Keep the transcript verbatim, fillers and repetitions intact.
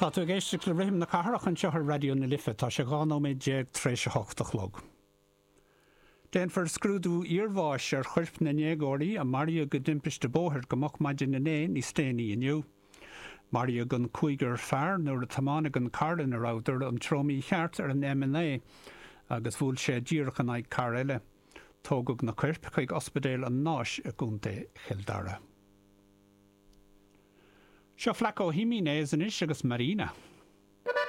Tá tú ag éisteacht le Rithim na Cathrach anseo ar Raidió na Life tá sé dhá nóiméad déag tar éis a hocht a chlog. Déanfar scrúdú iarbháis ar choirp na ndéagóirí a maraíodh i dtimpiste bóthair go moch maidin inné níos déanaí inniu. Maraíodh an cúigear fear nuair a tiomáineadh an carr ina rabhadar an treo mícheart ar an M naoi agus bhuail sé díreach in aghaidh carr eile. Tógadh na coirp chuig Ospidéal an Náis i gContae Chill Dara. Seo Flaco Jiménez anois agus Marina.